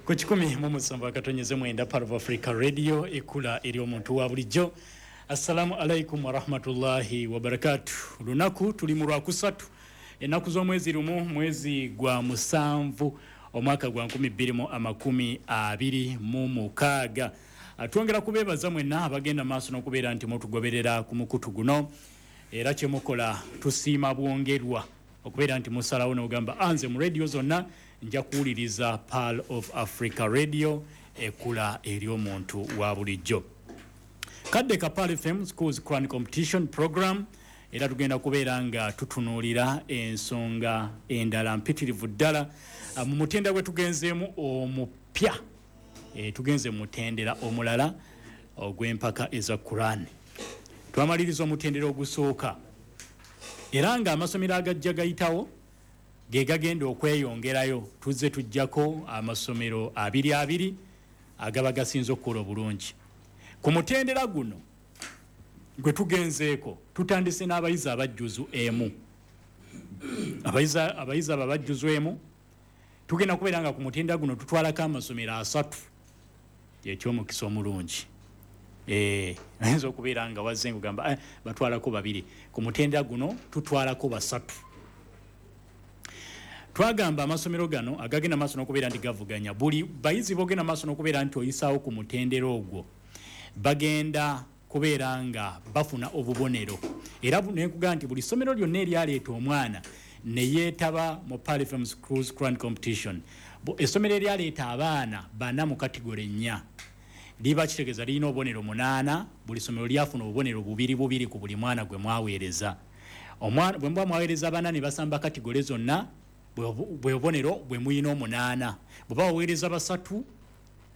Ku 107.9 Pearl of Africa Radio, ekula eri omuntu wa bulijjo. Assalamu alaikum warahmatullahi wabarakatu. Lunaku tuli mu Lwakusatu, ennaku z'omwezi 1, mwezi gwa 7, omwaka gwa 2026. Twongera kubeebaza mwenna abagenda maaso n'okubeera nti mutugoberera ku mukutu guno, era kyemukola tusiima bwongerwa okubeera nti musalawo n'ogamba anze mu radio zonna nja kuwuliriza Pearl of Africa Radio, ekula eri omuntu wa bulijjo. Kadde ka Pearl FM Schools Quran Competition Program, era tugenda kubeera nga tutunuulira ensonga endala mpitirivu ddala mu mutendera gwe tugenzeemu omupya. Tugenze mu mutendera omulala ogw'empaka eza Quran. Twamaliriza omutendera ogusooka, era nga amasomero agajja gayitawo ge gagenda okweyongerayo. Tuzze tujjako amasomero abiri abiri agaba gasinze okukola obulungi. Ku mutendera guno gwe tugenzeeko tutandise n'abayizi abajjuzu emu. Abayizi abo abajjuzu emu tugenda kubeera nga ku mutendera guno tutwalako amasomero 3, ekyomukisa omulungi. Ayinza okubeera nga wazze ng'ogamba batwalako 2, ku mutendera guno tutwalako 3. Twagamba amasomero gano agagenda maaso n'okubeera nti gavuganya, buli bayizi bogenda maaso n'okubeera nti oyisaawo ku mutendera ogwo bagenda kubeera nga bafuna obubonero. Era nekugamba nti buli ssomero lyonna eryaleeta omwana ne yeetaba mu Pearl FM Schools Quran Competition, essomero eryaleeta abaana 4 mu kategore 4 liba kitegeeza lirina obubonero 8. Buli ssomero lyafuna obubonero 2 2 ku buli mwana gwe mwaweereza. Omwana bwe muba mwaweereza 4 ne basamba kategore zonna, bwe bubonero bwe muyina 8. Bwe baweereza 3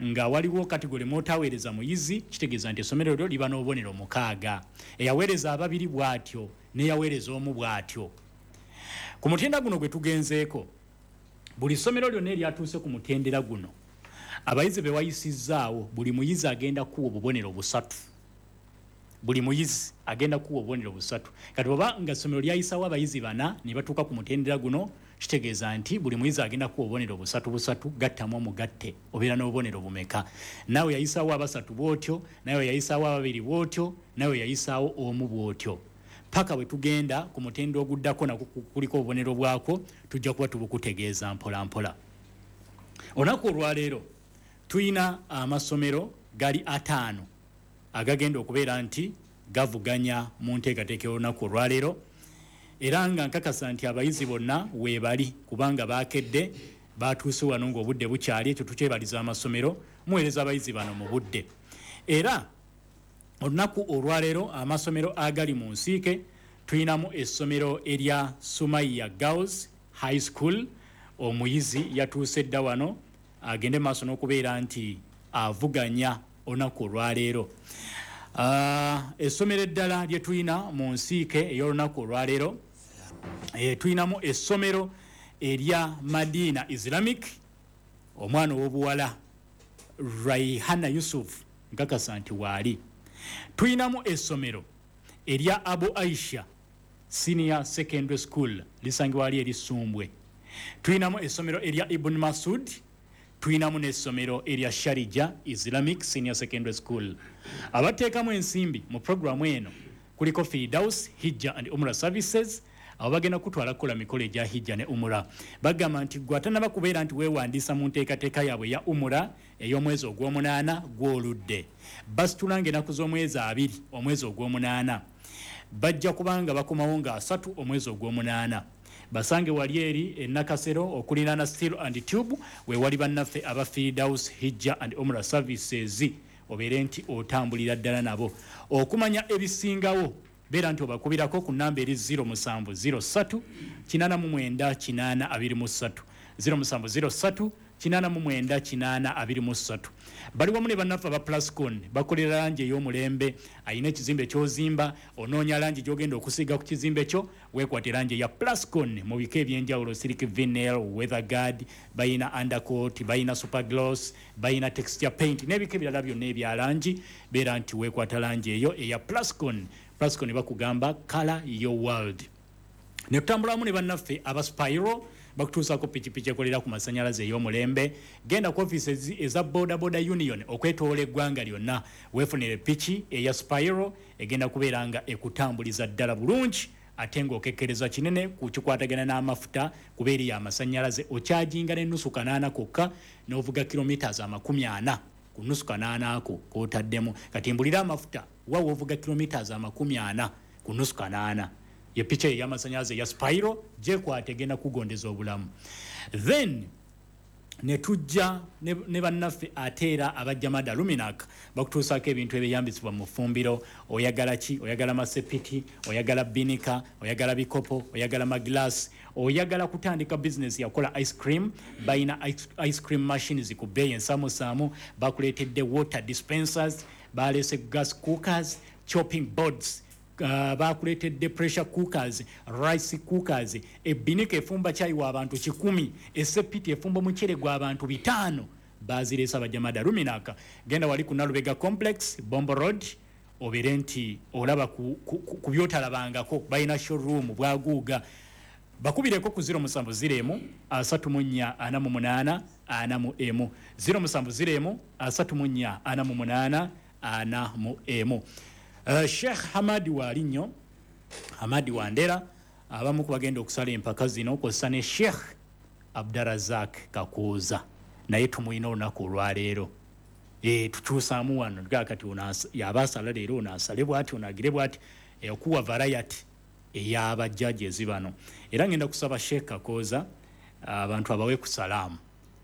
nga waliwo kategore mwotaweereza muyizi, kitegeeza nti essomero lyo liba n'obubonero 6. Eyaweereza 2 bw'atyo n'eyaweereza 1 bw'atyo. Ku mutendera guno gwe tugenzeeko, buli ssomero lyonna eryatuuse ku mutendera guno, abayizi be wayisizzaawo buli muyizi agenda kuwa obubonero 3. Buli muyizi agenda kuwa obubonero 3. Kati bw'oba nga essomero lyayisawo abayizi 4 ne batuuka ku mutendera guno, kitegeeza nti buli muyizi agenda kuwa obubonero 3 3, gattamu omugatte obeera n'obubonero bumeka. Naawe yayisaawo 3 bw'otyo, naawe yayisaawo 2 bw'otyo, naawe yayisaawo 1 bw'otyo, paka bwe tugenda ku mutendera oguddako nakwo kuliko obubonero bwakwo, tujja kuba tubukutegeeza mpola mpola. Olunaku olwaleero tulina amasomero gali 5 agagenda okubeera nti gavuganya mu nteekateeka y'olunaku olwaleero, era nga nkakasa nti abayizi bonna weebali kubanga baakedde batuuse wano ng'obudde bukyali. Ekyo tukyebaliza amasomero, muweereza abayizi bano mu budde. Era olunaku olwaleero amasomero agali mu nsiike tulinamu essomero erya Sumaiya Girls High School. Omuyizi yatuuse dda wano agende maaso n'okubeera nti avuganya olunaku olwaleero. Essomero eddala lye tulina mu nsiike ey'olunaku olwaleero, tulinamu essomero erya Madina Islamic. Omwana ow'obuwala Raihana Yusuf nkakasa nti waali. Tulinamu essomero erya Abu Aisha Senior Secondary School, lisangibwa wali eri Ssumbwe. Tulinamu essomero erya Ibn Masud, tulinamu n'essomero erya Sharija Islamic Senior Secondary School. Abateekamu ensimbi mu programu eno kuliko Firdaus Hijja and Umrah Services. Abo bagenda kutwala kukola mikolo egya Hijja ne Umrah. Bagamba nti gwe atannaba kubeera nti weewandiisa mu nteekateeka yaabwe ya Umrah ey'omwezi ogw'omunaana gw'oludde, basitula ng'ennaku z'omwezi 2 omwezi ogw'omunaana, bajja kubanga bakomawo nga 3 omwezi ogw'omunaana. Basange wali eri e Nakasero okuliraana Steel and Tube, we wali bannaffe aba Firdaus Hijja and Umrah Services, obeere nti otambulira ddala nabo. Okumanya ebisingawo beera nti obakubirako ku namba eri 0703 89 823, 0703 89 823. Bali wamu ne bannaffe aba Plascon, bakolera langi ey'omulembe. Ayina ekizimbe ky'ozimba, onoonya langi gy'ogenda okusiiga ku kizimbe kyo, weekwate langi eya Plascon mu bika eby'enjawulo: silk vinyl, weather guard, bayina undercoat, bayina super gloss, bayina texture paint n'ebika ebirala byonna ebya langi. Beera nti weekwata langi eyo eya Plascon. Plascon bakugamba color your world. Ne tutambulamu ne bannaffe aba Spiro, Bakutuusaako pikipiki ekolera ku masannyalaze ey'omulembe. Genda ku ofiisi eza Boda Boda Union okwetoola eggwanga lyonna, weefunire piki eya Spiro egenda kubeera nga ekutambuliza ddala bulungi, ate ng'okekkereza kinene ku kikwatagana n'amafuta, kuba eriyo amasannyalaze. Okyajinga n'ennusu 8 kokka n'ovuga kilometers 40 ku nnusu 8 ako k'otaddemu. Kati mbulira amafuta wa w'ovuga kilometers 40 ku nnusu 8. Ye piki eyo ey'amasannyalaze ya Spiro, gyekwata, egenda kugondeza obulamu. Then ne tujja ne bannaffe ate era abajjamada Luminac, bakutuusaako ebintu ebyeyambisibwa mu ffumbiro. Oyagala ki? Oyagala masepiti, oyagala binika, oyagala bikopo, oyagala magilasi, oyagala kutandika bizinesi yakola ice cream, balina ice cream machines ku bbeeyi ensaamusaamu. Bakuleetedde water dispensers, baleese gas cookers, chopping boards, bakuleetedde pressure cookers, rice cookers, ebinika efumba kyayi w'abantu 100, esepiti efumba omuceere gw'abantu 5. Bazireese abajamada Luminaka. Genda wali ku Nalubega Complex, Bombo Road, obeere nti olaba ku byotalabangako. Balina showroom bwaguuga. Bakubireko ku 070 34 48 41, 070 34 48 41. Sheikh Hamadi Walinyo, Hamadi Wandera, abamu ku bagenda okusala empaka zino, kw'ossa ne Sheikh Abdarazak Kakuuza, naye tumuyina olunaku olwaleero. Tukyusaamu wano kati ono yaba asala leero, ono asale bwati, ono agire bwati, okuwa variety ey'abajjaji bano. Era ngenda kusaba Sheikh Kakooza abantu abawe ku salaamu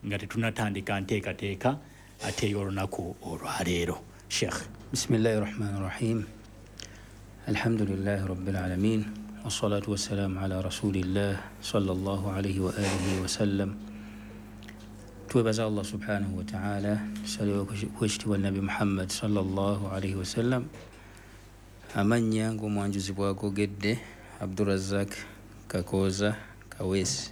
nga tetunatandika nteekateeka ate ey'olunaku olwaleero. Sheikh. Bismillahi rahmani rahim. Alhamdulillahi rabbil alamin, wassalatu wassalamu ala rasulillah sallallahu alaihi wa alihi wasallam. Twebaza Allah subhanahu wa ta'ala, tusaliwe kwekitiibwa Nabi Muhammad sallallahu alaihi wasallam. Amannya ng'omwanjuzi bw'agogedde, Abdurazak Kakooza Kaweesi.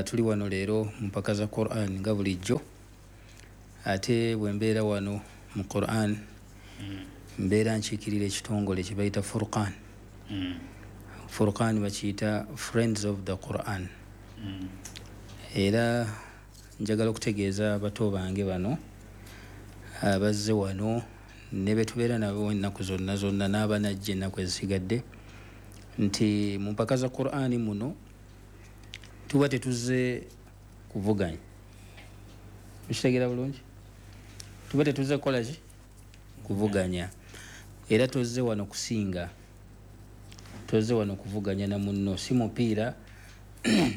Tuli wano leero mu mpaka za Quran nga bulijjo. Ate bwe mbeera wano mu Quran, mbeera nkiikirira ekitongole kye bayita Furqan. Furqan bakiyita Friends of the Quran. Era njagala okutegeeza abato bange bano abazze wano ne betubeera nabo ennaku zonna zonna n'abanajja ennaku ezisigadde, nti mu mpaka za Qur'ani muno tuba tetuzze kuvuganya. Mukitegeera bulungi? Tuba tetuzze kukola ki? Kuvuganya. Era tozze wano kusinga, tozze wano kuvuganya na munno, si mupiira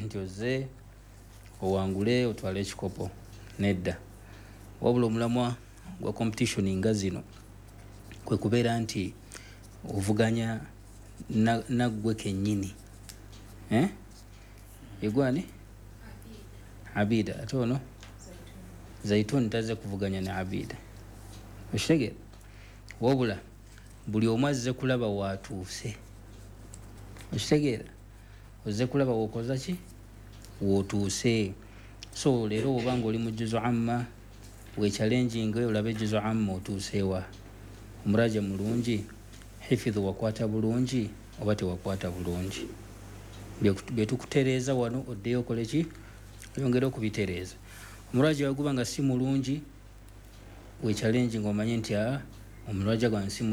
nti ozze owangule otwale ekikopo, nedda. Wabula omulamwa gwa competition nga zino kwe kubeera nti ovuganya naggwe kennyini. Egwani Abida, ate ono Zaituni tazze kuvuganya ne Abida, okitegeera? Wabula buli omu azze kulaba waatuuse, okitegeera? Ozze kulaba wookoza ki, wootuuse. So leero oba nga oli mu juzu amma, wechallenging olabe juzu amma otuuseewa, omuraja mulungi, hifidhu wakwata bulungi oba tewakwata bulungi. Byetukutereeza wano oddeyo okole ki, oyongere okubitereeza. Omuraja waguba nga si mulungi, wechallenging omanye nti omuraja gwange si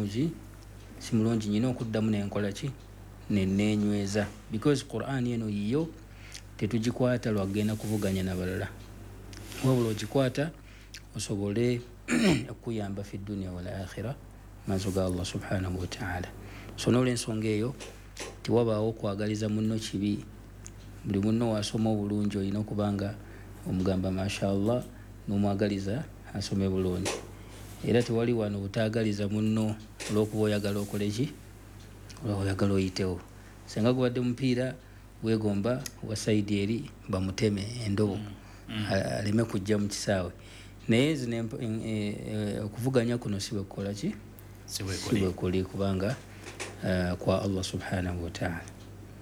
mulungi, nyina okuddamu nenkola ki, neneenyweza, because Quran eno yiyo tetugikwata lwagenda kuvuganya nabalala, wabula ogikwata osobole okuyamba fi dunia wal akhira maaso ga Allah subhanahu wa ta'ala. So n'olwensonga eyo tewabaawo okwagaliza munno kibi. Buli munno wasoma obulungi olina okubanga omugamba mashallah n'omwagaliza asome bulungi. Era tewali wano butaagaliza munno olw'okuba oyagala okole ki, oyagala oyitewo. Singa gubadde mupiira weegomba wa sayidi eri bamuteme endobo aleme kujja mu kisaawe. Naye zino okuvuganya kuno si bwe kukola ki, si bwe kuli, kubanga kwa Allah subhanahu wa ta'ala.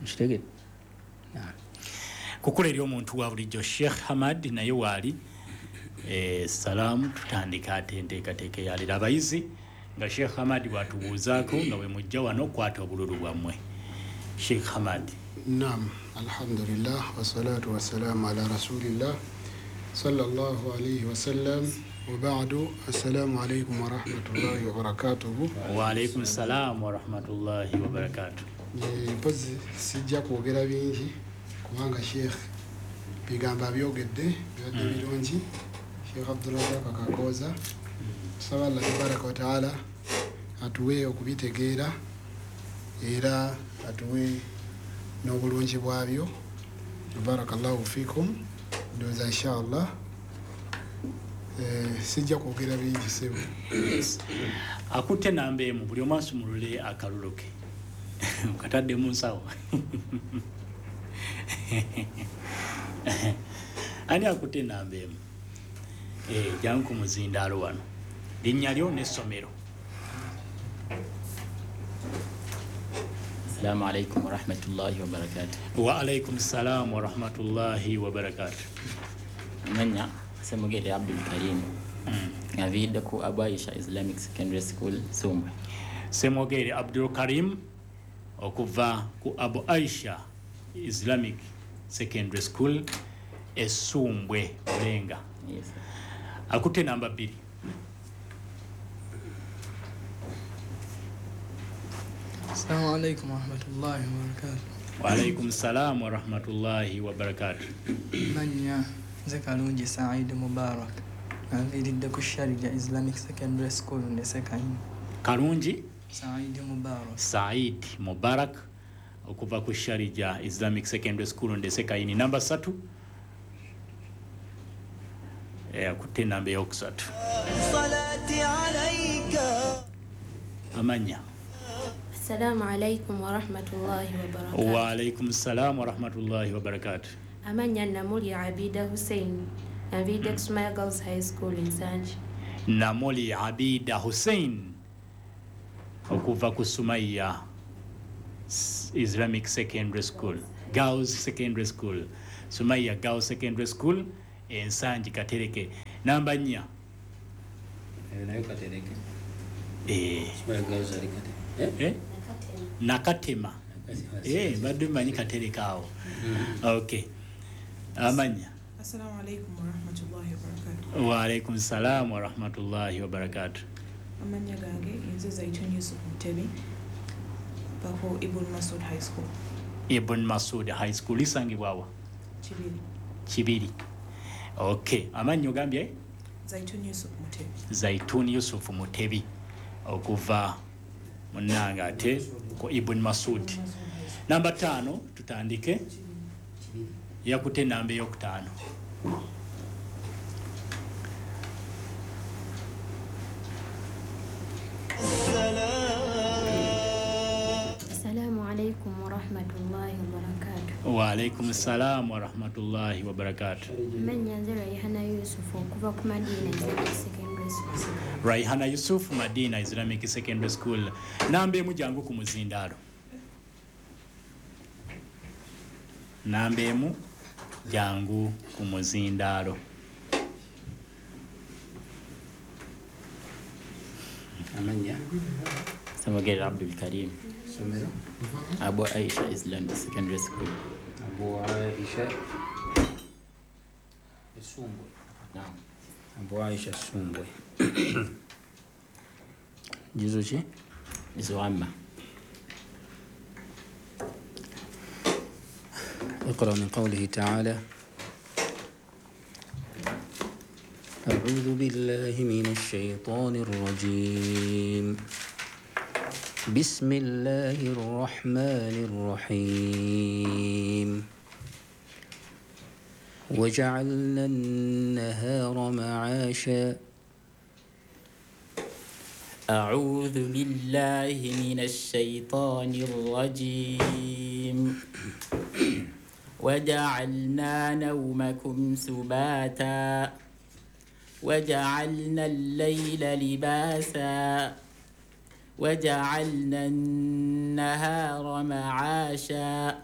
Nkitegedde? Kukula eri omuntu wa bulijjo Sheikh Hamad naye waali. Salaamu. Tutandika ate enteekateeka eyalira abayizi nga Sheikh Hamad bwatubuuzaako nga bwe mujja wano kwata obululu bwammwe. Sheikh Hamad. Naam, alhamdulillah wassalatu wassalamu ala rasulillah sallallahu alayhi wasallam wa ba'du. Assalamu alaykum wa rahmatullahi wa barakatuhu. Wa alaykum salam wa rahmatullahi wa barakatuh. Mpozi sijja kwogera bingi kubanga Sheikh bigamba byogedde byadde birungi. Sheikh Abdulrazak Kakooza, tusaba Allah tabaraka wa taala atuwe okubitegeera era atuwe n'obulungi bwabyo. Barakallahu fikum. Ndowooza inshallah sijja kwogera bingi sebo. Yes. Akutte namba emu, buli omu asumulule akalulu ke katadde mu nsawo. Ani akutte namba emu? Jangu ku muzindaalo wano, linnya lyo n'essomero. Assalamu alaikum wa rahmatullahi wa barakatuh. Wa alaikum salam wa rahmatullahi wa barakatuh. Amanya Semugere Abdul Karim. Ngaviidde ku Abu Aisha Islamic Secondary School Sumbwe. Semugere Abdul Karim okuva ku Abu Aisha Islamic Secondary School Esumbwe Bulenga. Yes. Akutte namba 2. Assalamu alaikum wa rahmatullahi wa barakatuh. Wa alaikum salam wa rahmatullahi wa barakatuh. Manya nze Kalungi Said Mubarak. Nviiridde ku Sharjah Islamic Secondary School Ndesekaini. Kalungi Said Mubarak. Said Mubarak okuva ku Sharjah Islamic Secondary School Ndesekaini. Namba 3. Akutte namba eyokusatu. Salati alayka. Amanya. Assalamu alaikum wa rahmatullahi wa barakatuh. Wa alaikum salam wa rahmatullahi wa barakatuh. Amanya Namuli Abida Hussein, Nviidde ku Sumaya Girls High School Nsangi. Namuli Abida Hussein okuva ku Sumaya Islamic Secondary School, Girls Secondary School, Sumaya Girls Secondary School Nsangi Katereke. Namba 4. Nayo Katereke. Sumaya Girls ali Katereke. Nakatema. Badde mmanyi Katereke awo. Okay. Amanya. Assalamu alaikum wa rahmatullahi wa barakatuh. Wa alaikum salam wa rahmatullahi wa barakatuh. Amanya gange nze Zaitun Yusuf Mutebi bako Ibn Masud High School. Ibn Masud High School isangibwa wa? Kibiri. Kibiri. Okay. Amanya ogambye? Zaitun Yusuf Mutebi. Zaitun Yusuf Mutebi okuva munanga ate ku Ibn Masud. Namba 5 tutandike. Yakute namba eyokutaano. Assalamu alaikum wa rahmatullahi wa barakatuh. Wa alaikum salam wa rahmatullahi wa barakatuh. Manya nze Raihana Yusuf okuva ku Madina Islamic Secondary School. Raihana Yusuf, Madina Islamic Secondary School. Namba emu jangu ku muzindaalo. Namba emu jangu ku muzindaalo. Amanya Semugere Abdul Karim. Somero Abu Aisha Islamic Secondary School. Abu Aisha Sumbwe. Naam. Abu Aisha Sumbwe. Juzu ki? Juzu amma. اقرأ من قوله تعالى: أعوذ بالله من الشيطان الرجيم، بسم الله الرحمن الرحيم، وجعلنا النهار معاشا. أعوذ بالله من الشيطان الرجيم. وجعلنا نومكم سباتا وجعلنا الليل لباسا وجعلنا النهار معاشا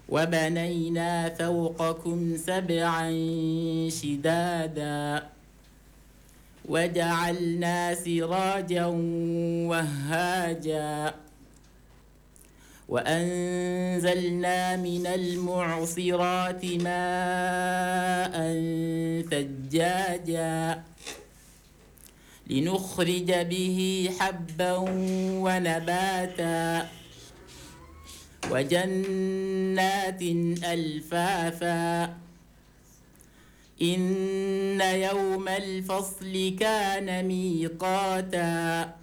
وبنينا فوقكم سبعا شدادا وجعلنا سراجا وهاجا وأنزلنا من المعصرات ماء ثجاجا لنخرج به حبا ونباتا وجنات ألفافا إن يوم الفصل كان ميقاتا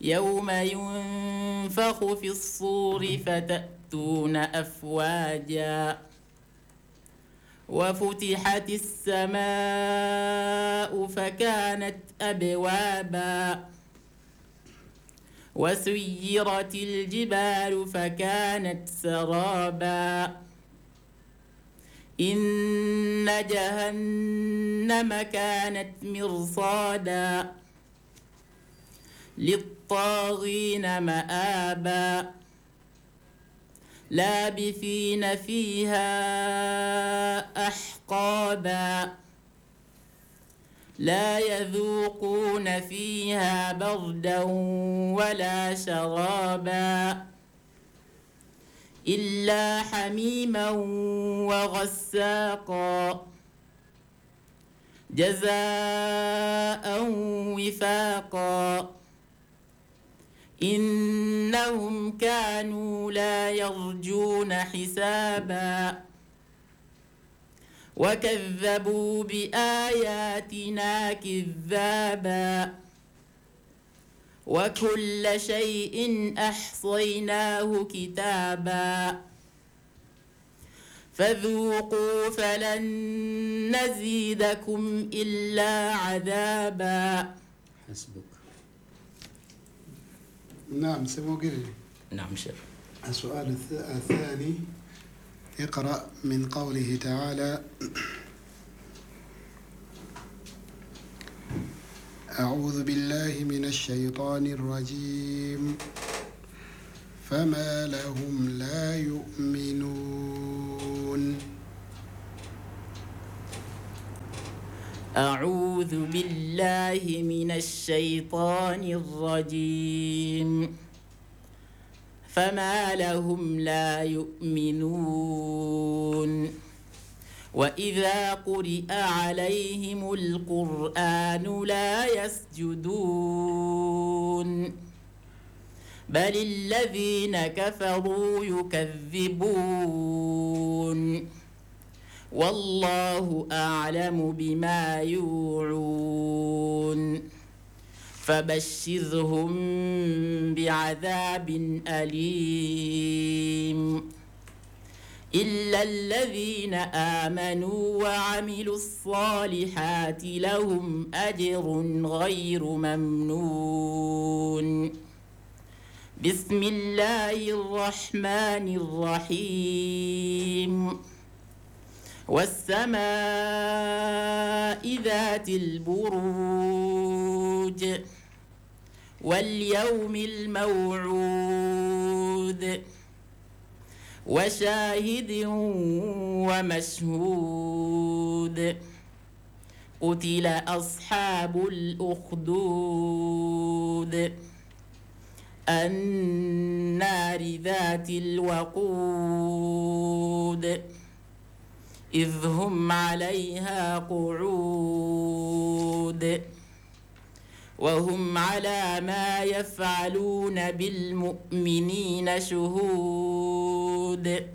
يوم ينفخ في الصور فتأتون أفواجا وفتحت السماء فكانت أبوابا وسيرت الجبال فكانت سرابا إن جهنم كانت مرصادا للطاغين مآبا لابثين فيها أحقابا لا يذوقون فيها بردا ولا شرابا إلا حميما وغساقا جزاء وفاقا إنهم كانوا لا يرجون حسابا وكذبوا بآياتنا كذابا وكل شيء أحصيناه كتابا فذوقوا فلن نزيدكم إلا عذابا. حسبك. نعم سموغيري. نعم شيخ. السؤال الثاني، اقرأ من قوله تعالى: أعوذ بالله من الشيطان الرجيم، فما لهم لا يؤمنون. أعوذ بالله من الشيطان الرجيم، فما لهم لا يؤمنون وإذا قرئ عليهم القرآن لا يسجدون بل الذين كفروا يكذبون والله أعلم بما يوعون فبشرهم بعذاب أليم إلا الذين آمنوا وعملوا الصالحات لهم أجر غير ممنون. بسم الله الرحمن الرحيم. والسماء ذات البروج واليوم الموعود وشاهد ومشهود. قتل أصحاب الأخدود النار ذات الوقود إذ هم عليها قعود وهم على ما يفعلون بالمؤمنين شهود.